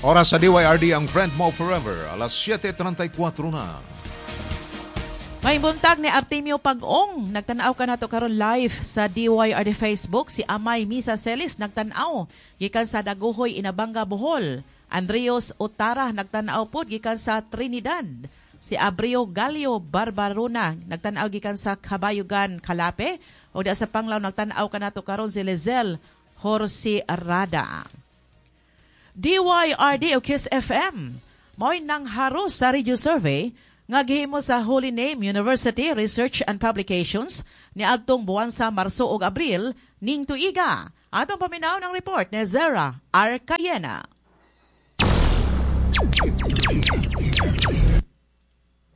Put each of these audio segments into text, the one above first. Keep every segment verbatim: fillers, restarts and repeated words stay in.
Oras sa D Y R D, ang friend mo forever, alas siyete trenta y kwatro na. May buntag ni Artemio Pag-ong, nagtanaw ka nato karon live sa D Y R D Facebook. Si Amay Misa Celis, nagtanaw gikan sa Dagohoy, Inabanga, Bohol. Andrios Otara, nagtanaw pod gikan sa Trinidad. Si Abrio Galio Barbarona, nagtanaw gikan sa Kabayugan, Calape. O da sa Panglao, nagtanaw kanato karon si Lizel Horsi Rada. D Y R D o Kiss F M mao'y nangharos sa radio survey nga gihimo sa Holy Name University Research and Publications niadtong buwan sa Marso ug Abril ning tuiga. Atong paminaw ng report ni Zara Arcayena.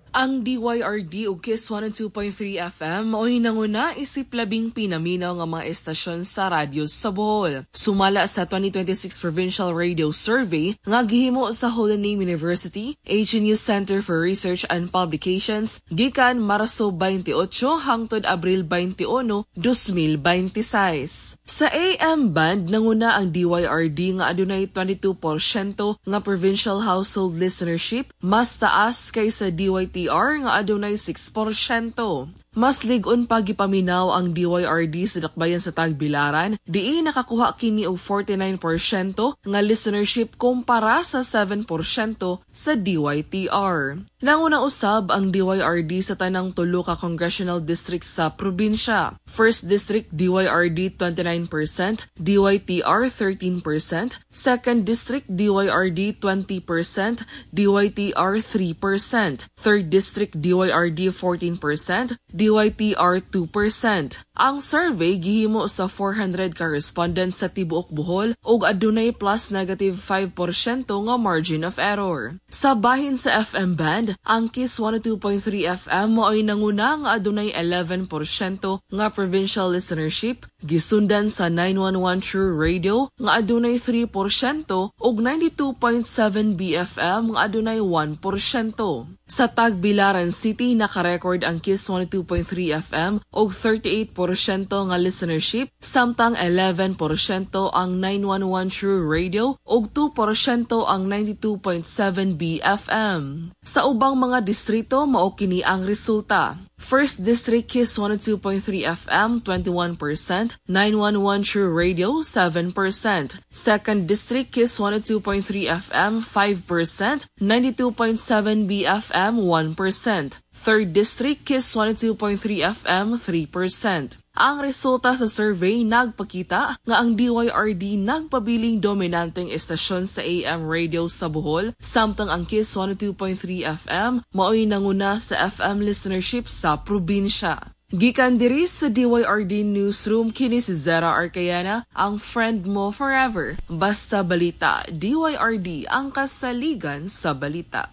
Ang D Y R D ug Kiss one oh two point three F M mao'y nanguna isip labing pinaminaw nga mga estasyon sa radyo sa Bohol. Sumala sa twenty twenty-six Provincial Radio Survey nga gihimo sa Holy Name University, H N U Center for Research and Publications gikan Marso twenty-eight hangtod Abril twenty-one, twenty twenty-six. Sa A M band, nanguna ang D Y R D nga adunay twenty-two porsyento nga provincial household listenership, mas taas kaysa D Y T R nga adunay six porsyento. Mas lig-on pa gipaminaw ang D Y R D sa dakbayan sa Tagbilaran, diin nakakuha kini og forty-nine porsyento nga listenership kumpara sa seven porsyento sa D Y T R. Nanguna usab ang D Y R D sa tanang tulo ka congressional districts sa probinsya. First District, D Y R D twenty-nine percent, D Y T R thirteen percent, Second District, D Y R D twenty percent, D Y T R three percent, Third District, D Y R D fourteen percent, D Y T R two percent. Ang survey gihimo sa four hundred ka respondents sa tibuok Bohol ug adunay plus negative five porsyento nga margin of error. Sa bahin sa F M band, ang Kiss one oh two point three F M mao'y nanguna nga adunay eleven porsyento nga provincial listenership, gisundan sa nine one one True Radio nga adunay three porsyento ug ninety-two point seven B F M nga adunay one porsyento. Sa Tagbilaran City, nakarecord ang Kiss one oh two point three F M og thirty-eight porsyento nga listenership, samtang eleven porsyento ang nine one one True Radio ug two porsyento ang ninety-two point seven B F M. Sa ubang mga distrito, mao kini ang resulta. First District, Kiss one oh two point three F M twenty-one percent, nine one one True Radio seven percent. Second District, Kiss one oh two point three F M five percent, ninety-two point seven B F M one percent. Third District, Kiss one oh two point three F M three percent. Ang resulta sa survey nagpakita nga ang D Y R D nagpabiling dominanteng estasyon sa A M radio sa Bohol, samtang ang Kiss one oh two point three F M mao'y nanguna sa F M listenership sa probinsya. Gikan diri sa D Y R D Newsroom, kini si Zera Arcayana, ang friend mo forever. Basta balita, D Y R D, ang kasaligan sa balita.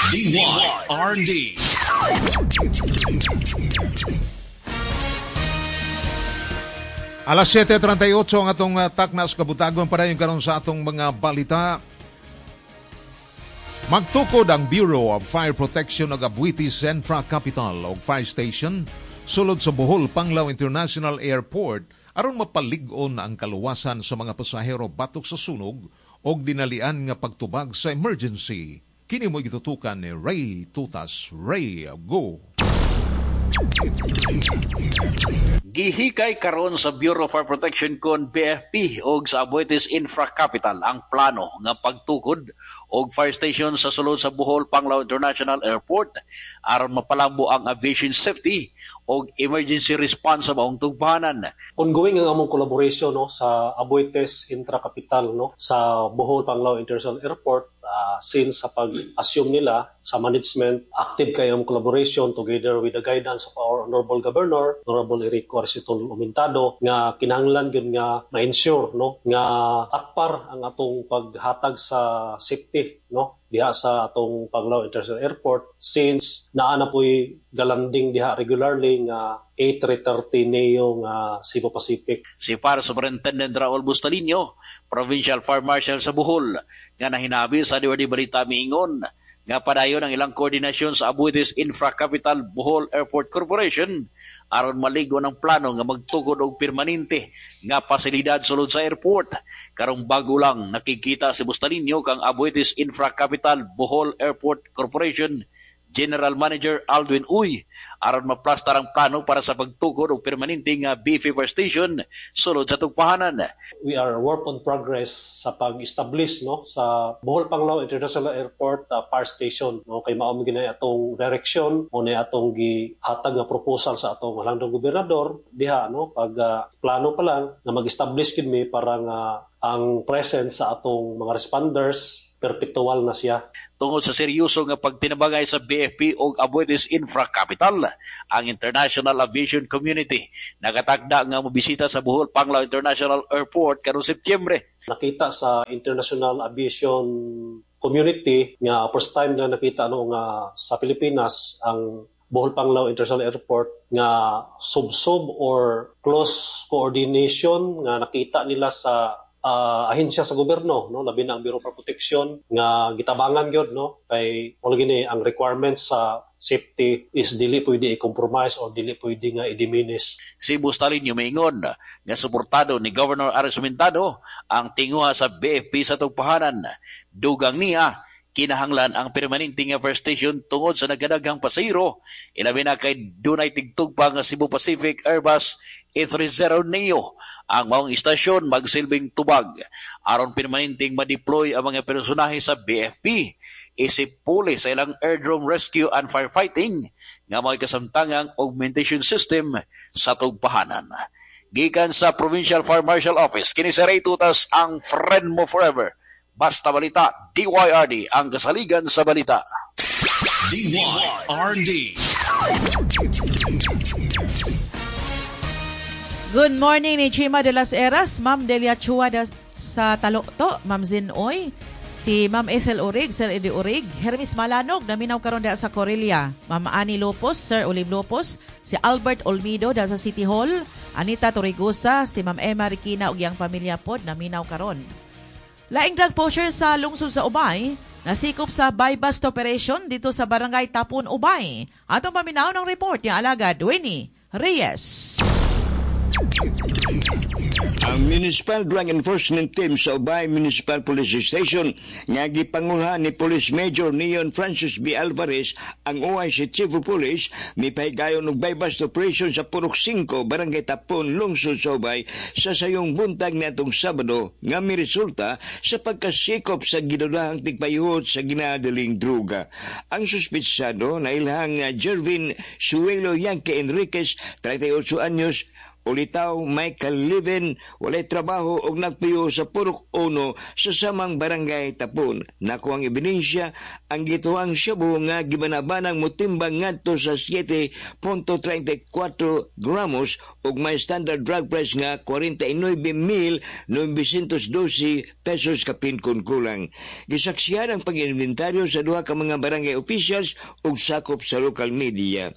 D Y R D. Alas siyete trenta y otso ang atong uh, taknas kabutagon, padayon karon sa atong mga balita. Magtukod ang Bureau of Fire Protection og Aboitiz Infra Capital og Fire Station sulod sa Bohol Panglao International Airport aron mapalig-on ang kaluwasan sa mga pasahero batok sa sunog og dinalian nga pagtubag sa emergency. Kini mo gitutukan ni Ray Tutas. Ray, go! Gihikay karon sa Bureau of Fire Protection kon B F P og sa Aboitiz Infra Capital ang plano nga pagtukod og fire station sa sulod sa Bohol Panglao International Airport aron mapalambo ang aviation safety og emergency response sa maong tugpahanan. Ongoing ang among collaboration, no, sa Aboitiz Infra Capital, no, sa Bohol Panglao International Airport uh, since sa pag-assume nila sa management. Active kay ang collaboration together with the guidance of our Honorable Governor, Honorable Erico Arcitol Aumentado, nga kinahanglan gyud nga ma-ensure, no, nga at par ang atong paghatag sa safety, no, diha sa atong Panglao International Airport, since naa na po'y galanding diha regularly nga A three thirty neo nga Cebu Pacific. Si Fire Superintendent Raul Bustalino, Provincial Fire Marshal sa Bohol, nga nahinabi sa D Y R D Balita miingon nga padayon ang ilang koordinasyon sa Aboitiz Infra Capital Bohol Airport Corporation aron maligo ng plano nga magtukod og permanente nga pasilidad sulod sa airport. Karong bago lang nakikita si Bustalinyo kang Aboitiz Infra Capital Bohol Airport Corporation General Manager Aldwin Uy aron maplastar ang plano para sa pagtukod og permanente nga B F Fire Station sulod sa tugpahanan. We are work on progress sa pag-establish, no, sa Bohol Panglao International Airport uh, Fire Station, no, kay mao man gina atong direksyon o na atong gihatag nga proposal sa atong halangdong gobernador diha, no, pag uh, plano pa lang na mag-establish gid mi para nga ang presence sa atong mga responders perpetual na siya. Tungod sa seryoso nga pagtinabangay sa B F P og Aboitiz Infra Capital, ang International Aviation Community nagatakda nga mobisita sa Bohol Panglao International Airport karong Setyembre. Nakita sa International Aviation Community nga first time na nakita, no, nga sa Pilipinas ang Bohol Panglao International Airport nga sub-sub or close coordination nga nakita nila sa uh, ahensya sa gobyerno, no, labi na ang Bureau for Protection nga gitabangan gyud, no, kay wala gini ang requirements sa safety is dili pwede i-compromise or dili pwede nga i-diminish. Si Bustalinyo maingon nga suportado ni Governor Aris Sumentado ang tinguha sa B F P sa tugpahanan. Dugang niya, kinahanglan ang permanente nga fire station tungod sa nagkadaghang pasahero, ilabi na kay dunay tigtugpa nga Cebu Pacific Airbus A three thirty Neo. Ang maong istasyon magsilbing tubag aron permanenteng ma-deploy ang mga personahe sa B F P isip puli sa ilang airdrome rescue and firefighting nga may kasamtangang augmentation system sa tugpahanan. Gikan sa Provincial Fire Marshal Office, kini si Ray Tutas, ang friend mo forever. Basta Balita, D Y R D, ang kasaligan sa balita. D Y R D. Good morning ni Chima de las Heras, Ma'am Delia Chua da, sa Talokto, Ma'am Zinoy, si Ma'am Ethel Urig, Sir Eddie Urig, Hermes Malanog, naminaw karon da sa Corelia, Ma'am Annie Lopez, Sir Olive Lopez, si Albert Olmido da sa City Hall, Anita Torregosa, si Ma'am Emma Riquina ug iyang pamilya pod naminaw karon. Laing drug pusher sa lungsod sa Ubay, nasikop sa buy-bust operation dito sa Barangay Tapon, Ubay. Atong paminaw ng report ni alagad Winnie Reyes. Ang Municipal Drug Enforcement Team sa Ubay Municipal Police Station nga gipangulhan ni Police Major Neon Francis B. Alvarez, ang O I C Chief of Police, mipahigayon og buy-bust operation sa Purok singko, Barangay Tapon, lungsod sa Ubay sa sayong buntag niadtong Sabado nga miresulta sa pagkasikop sa gidudahang tigpayuhot sa ginadaling druga. Ang suspitsado na ilhang Jervin Suelo Yankee Enriquez, trenta'y otso anyos, ulitaw Michael Levin, walay trabaho og nagpuyo sa Purok uno sa samang Barangay Tapon. Nakuha ang ebidensya ang gituang shabu nga gibanabanang motimbang ngadto sa siyete punto trenta'y kwatro gramos ug may standard drug price nga kwarenta y nuebe mil noybesyentos dose pesos kapin kun kulang. Gisaksihan ang pag-inventaryo sa duha ka mga barangay officials ug sakop sa local media.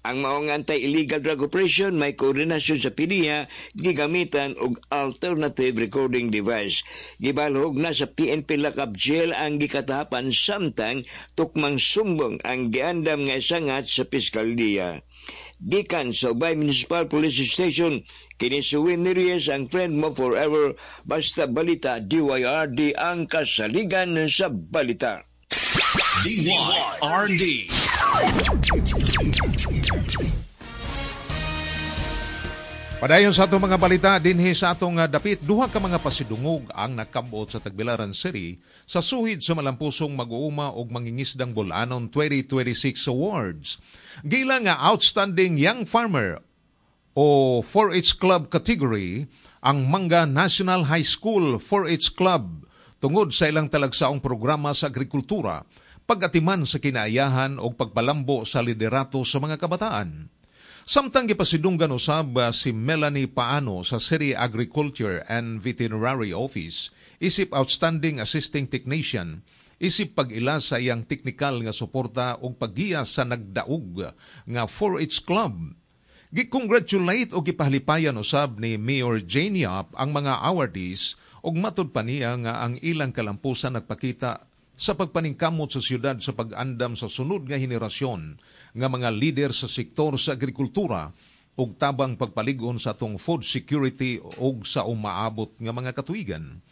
Ang maong anti-illegal drug operation may koordinasyon sa P D I A, gigamitan og alternative recording device. Gibalhog na sa P N P Lockup Jail ang gikatahapan samtang tukmang sumbong ang giandam nga isangat sa piskalya. Gikan sa Ubay Municipal Police Station, kini si Winnie Reyes, ang friend mo forever. Basta Balita, D Y R D, ang kasaligan sa balita. D Y R D. Padayon sa atong mga balita dinhi sa atong uh, dapit, duha ka mga pasidungog ang nakabot sa Tagbilaran City sa suhid sa malampusong mag-uuma og mangingisdang Bol-anon twenty twenty-six Awards. Gila nga Outstanding Young Farmer o four-H Club category ang Manga National High School four-H Club tungod sa ilang talagsaong programa sa agrikultura, pag-atiman sa kinaayahan o pagpalambo sa liderato sa mga kabataan. Samtang gipasidunggan usab uh, si Melanie Paano sa City Agriculture and Veterinary Office isip Outstanding Assisting Technician isip pag-ila sa iyang teknikal nga suporta ug paggiya sa nagdaog nga four-H Club. Gi-congratulate o gipahalipayan usab ni Mayor Jane Yap ang mga awardees ug matud pa niya nga ang ilang kalampusan nagpakita sa pagpaningkamot sa siyudad sa pag-andam sa sunod nga henerasyon nga mga lider sa sektor sa agrikultura ug tabang pagpalig-on sa atong food security ug sa umaabot nga mga katuigan.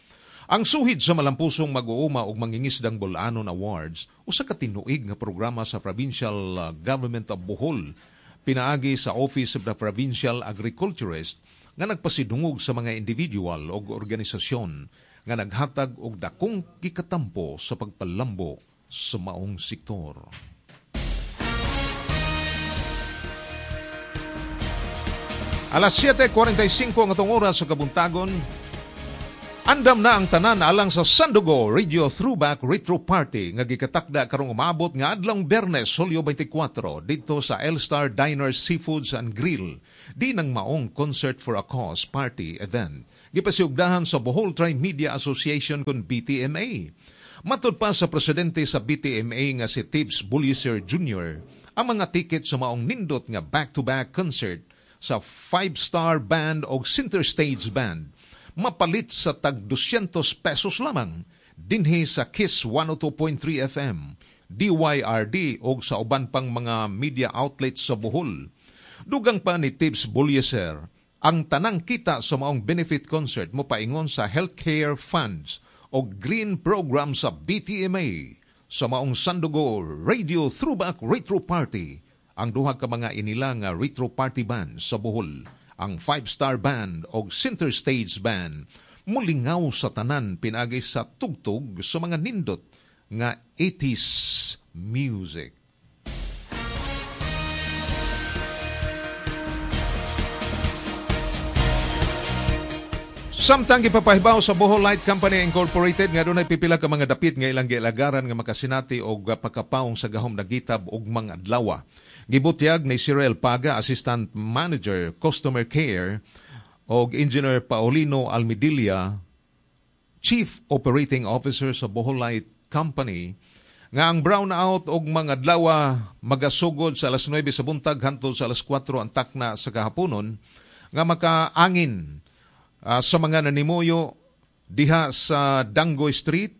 Ang suhid sa malampusong mag-uuma ug mangingisdang Bol-anon Awards usa ka tinuig nga programa sa Provincial Government of Bohol pinaagi sa Office of the Provincial Agriculturist nga nagpasidungog sa mga individual ug organisasyon nga naghatag og dakong gikatampo sa pagpalambo sa maong sektor. Alas siyete kuwarenta y singko ang atong oras sa kabuntagon. Andam na ang tanan alang sa Sandugo Radio Throwback Retro Party nga gikatakda karong umabot nga adlong Biyernes, Hulyo twenty-four didto sa El-Star Diner Seafoods and Grill. Di nang maong Concert for a Cause Party event. Gipasiugdahan sa Bohol Tri-Media Association kon B T M A. Matud pa sa presidente sa B T M A nga si Tibbs Bulliser Junior, ang mga tiket sa maong nindot nga back-to-back concert sa five-star band o center stage band mapalit sa tag doscientos pesos lamang dinhi sa Kiss one oh two point three F M, D Y R D o sa uban pang mga media outlets sa Bohol. Dugang pa ni Tibbs Bulliser, ang tanang kita sa maong benefit concert mopaingon sa healthcare funds o green program sa B T M A sa maong Sandugo Radio Throwback Retro Party, ang duha ka mga inila nga retro party band sa Bohol, ang five-star band o center stage band, mulingaw sa tanan pinagi sa tugtog sa mga nindot nga eighties music. Samtang gipapahibaw sa Bohol Light Company Incorporated nga dunay pipila ka mga dapit nga ilang gialagaran nga makasinati og pagkapaong sa gahom nagitab og mga adlaw. Gibutyag ni Cyril Paga, Assistant Manager, Customer Care, og Engineer Paulino Almidilla, Chief Operating Officer sa Bohol Light Company, nga ang brownout og mga adlaw magasugod sa alas nuwebe sa buntag hangtod sa alas kwatro ang takna sa kahaponon nga makaangin Uh, sa mga nanimuyo diha sa Dangoy Street,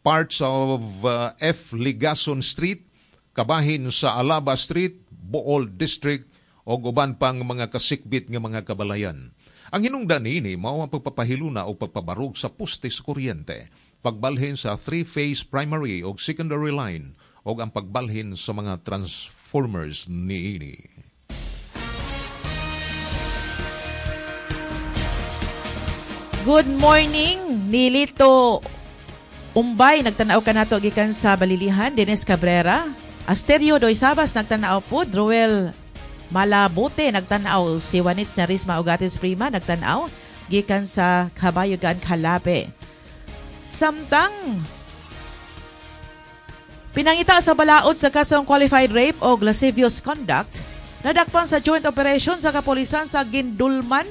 parts of uh, F. Ligason Street, kabahin sa Alaba Street, Bool District, o uban pang mga kasikbit nga mga kabalayan. Ang hinungdan niini mao ang pagpapahiluna o pagpabarog sa poste sa kuryente, pagbalhin sa three-phase primary o secondary line, o ang pagbalhin sa mga transformers niini. Good morning, Nilito Umbay, nagtanaw ka nato gikan sa Balilihan, Dennis Cabrera, Asterio Doy Sabas, nagtanaw po, Ruel Malabote, nagtanaw, si Juanits Narisma Ugatis Prima, nagtanaw, gikan sa Kabayugan, Calape. Samtang pinangita sa balaod sa kasong qualified rape o lascivious conduct, nadakpan sa joint operation sa kapulisan sa Gindulman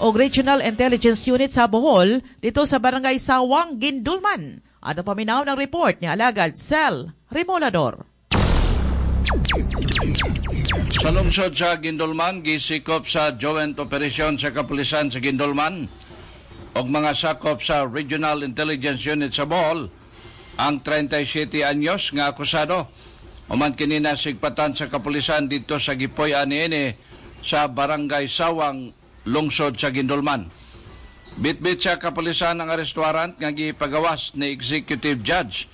o Regional Intelligence Unit sa Bohol, dito sa Barangay Sawang, Gindulman. Ano paminaw ng report ni Alagad Sel Remolador. Sa lungsod sa Gindulman, gisikop sa joint operation sa kapulisan sa Gindulman og mga sakop sa Regional Intelligence Unit sa Bohol ang trenta y siyete anyos nga akusado. Human kini nasigpatan sa kapulisan dito sa Gipoy-an niini sa Barangay Sawang, lungsod sa Gindulman. Bitbit sa kapulisan ang arrest warrant nga gipagawas ni Executive Judge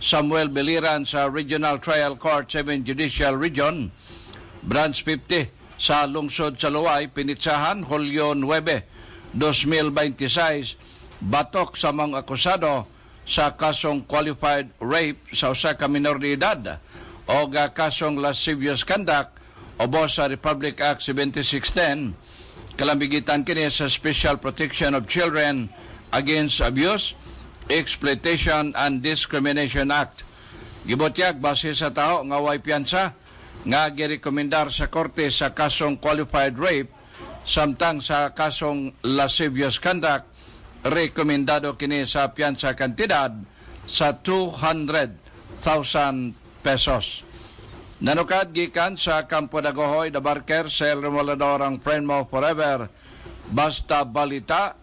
Samuel Beliran sa Regional Trial Court seven Judicial Region, Branch fifty sa lungsod sa Luway, Pinitsahan, Hulyo nuwebe, dos mil twenty-six, batok sa mga akusado sa kasong qualified rape sa usa ka minor de edad o kasong lascivious conduct obo sa Republic Act seventy-six ten, kalambigitan kini sa Special Protection of Children Against Abuse, Exploitation and Discrimination Act. Gibutyag base sa tao nga way piyansa nga girekomendar sa korte sa kasong qualified rape, samtang sa kasong lascivious conduct rekomendado kini sa piyansa kantidad sa two hundred thousand pesos. Nanukad gikan sa Kampo Dagohoy, Dabarker, Sel Remolador, ang friend mo forever. Basta Balita,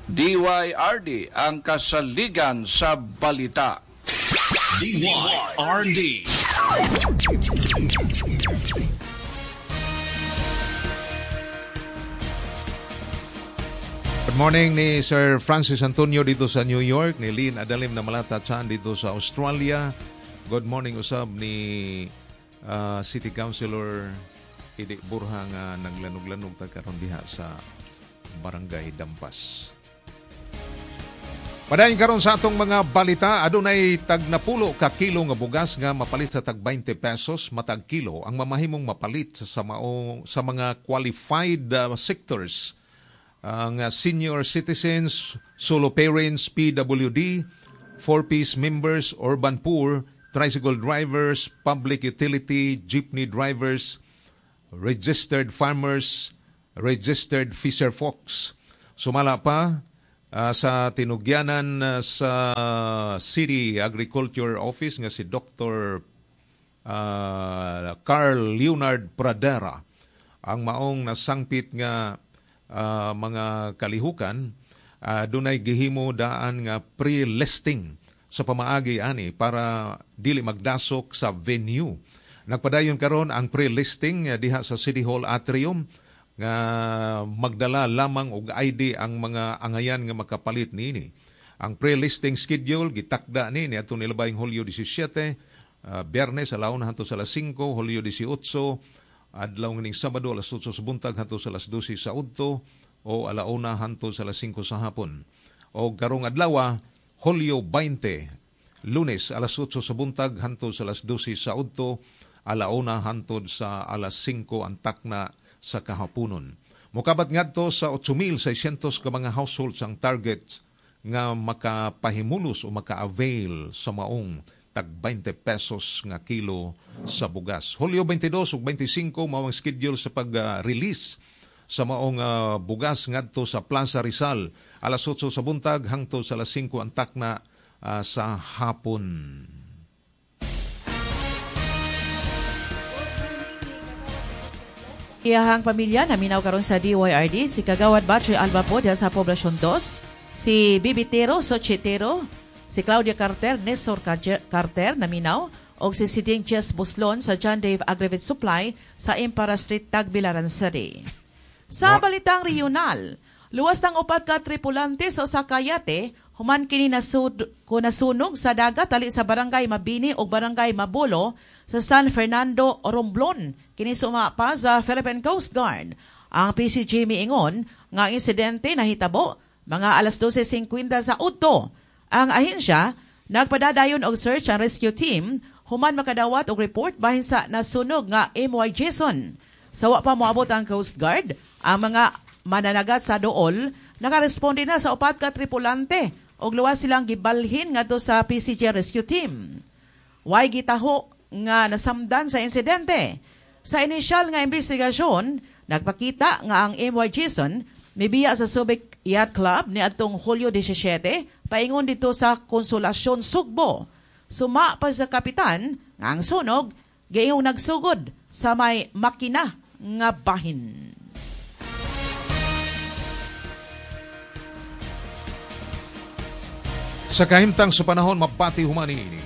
D Y R D, ang kasaligan sa balita. D Y R D. Good morning ni Sir Francis Antonio dito sa New York, ni Lynn Adalim na Malata Chan dito sa Australia. Good morning usab ni uh, City Councilor Idi Burha nga naglanog-lanog ta karon diha sa Barangay Dampas. Padayon karon sa atong mga balita, adunay tag napulo ka kilo nga bugas nga mapalit sa tag twenty pesos matag kilo ang mamahimong mapalit sa mao, sa mga qualified uh, sectors. Ang uh, senior citizens, solo parents, P W D, four-piece members, urban poor, tricycle drivers, public utility, jeepney drivers, registered farmers, registered fisher folks. Sumala pa uh, sa tinugyanan uh, sa City Agriculture Office nga si Doctor Uh, Carl Leonard Pradera ang maong nasangpit nga Uh, mga kalihukan, uh, dunay gihimo daan nga pre-listing sa pamaagi ani para dili magdasok sa venue. Nagpadayon karon ang pre-listing uh, diha sa City Hall Atrium nga magdala lamang og I D ang mga angayan nga makapalit niini. Ang pre-listing schedule gitakda ni niadtong nilabayng Hulyo labing-siyete, uh, Biyernes alauna hangtod sa alas singko, Hulyo labing-otso, adlaw ning Sabado alas otso sa buntag hangtod sa alas dose sa udto o alauna hangtod sa alas singko sa hapon. O karong adlaw, Hulyo beinte, Lunes alas otso sa buntag hangtod sa alas dose sa udto, alauna hangtod sa alas singko ang takna sa kahaponon. Mokabat ngadto sa eight mil seiscientos ka mga households ang target nga makapahimulos o maka-avail sa maong tag twenty pesos nga kilo sa bugas. Hulyo twenty-two ug twenty-five mao ang schedule sa pag-release sa maong uh, bugas ngadto sa Plaza Rizal alas otso sa buntag hangtod sa alas singko ang takna uh, sa hapon. Iyahang pamilya naminaw karon sa D Y R D si Kagawad Batchoy Alba po diha sa Poblacion two, si Bibitero Sochitero, si Claudia Carter, Nestor Carter naminaw, og si Siding Jess Buslon sa John Dave Agrivit Supply sa Impara Street, Tagbilaran City. Sa balitang regional, luwas ng upat ka tripulante sa usa ka yate, human kini nasud, nasunog sa dagat tali sa Barangay Mabini o Barangay Mabulo sa San Fernando, Romblon. Kini sumapa sa Philippine Coast Guard. Ang P C G miingon nga insidente nahitabo mga alas dose singkwenta sa udto. Ang ahensya nagpadadayon og search and rescue team human makadawat og report bahin sa nasunog nga M Y Jason. Sa wa pa moabot ang Coast Guard, ang mga mananagat sa dool nakaresponde na sa upat ka tripulante og luwas silang gibalhin ngadto sa P C G rescue team. Way gitaho nga nasamdan sa insidente. Sa inisyal nga investigasyon, nagpakita nga ang M Y Jason mibiya sa Subic Yacht Club niadtong Hulyo labing-siyete paingon dito sa Konsolasyon Sugbo. Suma pa sa kapitan nga ang sunog gayong nagsugod sa may makina nga bahin. Sa kahimtang sa panahon, mabati humani ini.